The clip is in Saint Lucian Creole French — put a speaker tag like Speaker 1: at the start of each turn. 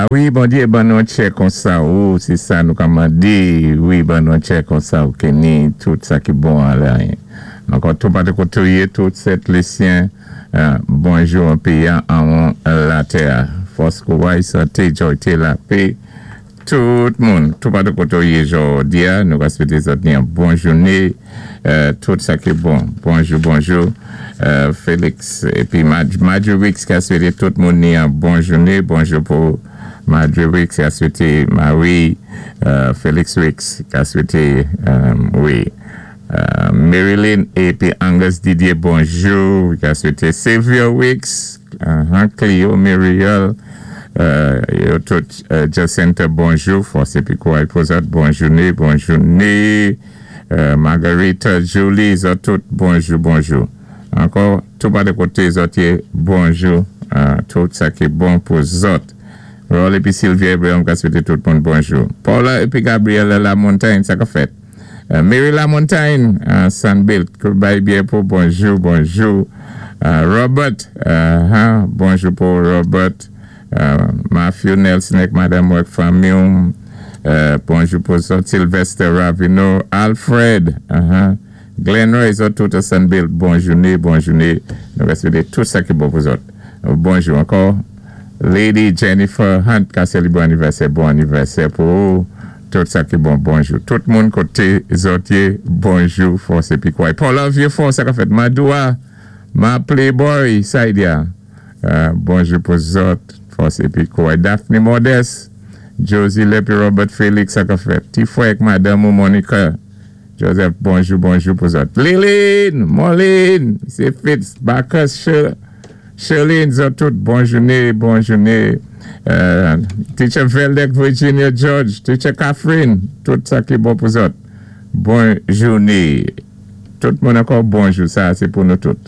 Speaker 1: Wi, Bondyé ban nou tchè konsa ou, sé sa nou ka mandé, wi, ban nou tchè konsa ou ki ni tout sa ki bon anlè. Ankò toupatou koté ou yé, tout Sent Lisyen, bonjou an péyi-a anwon latè-a. Fòs, kouray, santé, jòyté, lapé, tout moun, toupatou koté ou yé jòdi-a, nou ka swété zòt ni yon bon jouné, tout sa ki bon. Bonjou, bonjou, Félix épi Marjorie Wicks ka swété tout moun ni yon bon jouné. Bonjou pou Marjorie Wicks ka swété Marie Félix Wicks ka swété, wi. Marilyn épi Angus Didier, bonjou. Ka swété Sylvia Wicks, Cleo Muriel, yo tout Jacinta, bonjou. Fòs épi kouray pou zòt. Bon jouné, bon jouné. Margarita, Julie, zòt tout, bonjou, bonjou. Ankò, toupatou koté zòt yé, bonjou. Tout sa ki bon pou zòt. Raul épi Sylvia Abraham ka swété tout moun bonjou. Paula épi Gabriela Lamontagne, sa ka fèt. Mary Lamontagne, Sunbuilt, bay byen pou bonjou, bonjou. Robert, bonjou pou Robert. Matthew Nelson ak Madame ak fanmi, bonjou pou zòt. Sylvester Ravino, Alfred, Glenn Roy, zòt tout Sunbuilt, bon jouné, bon jouné. Nou wété tout sa ki bon pou zòt. Bonjou ankò. Lady Jennifer Hunt, ka sélébwé anivèsè, bon anivèsè pou ou. Tout sa ki bon, bonjou. Tout moun koté zòt yé, bonjou, fòs épi kouray. Paula Vieux-Fort, sa ka fèt. Madoua, ma Playboy, Saidia. Bonjou pou zòt, fòs épi kouray. Daphne Modeste, Josie Lepi, Robert Félix, sa ka fèt. Ti frè ak madanm ou Monica Joseph, bonjou, bonjou pou zòt. Liline, Moline, sé Fitz, Bacchus, Sherline, zòt tout, bon jouné, bon jouné. Teacher Veldek, Virginia George, Teacher Catherine, tout sa ki bon pou zòt. Bon jouné. Tout moun ankò, bonjou. Sa, sé pou nou tout.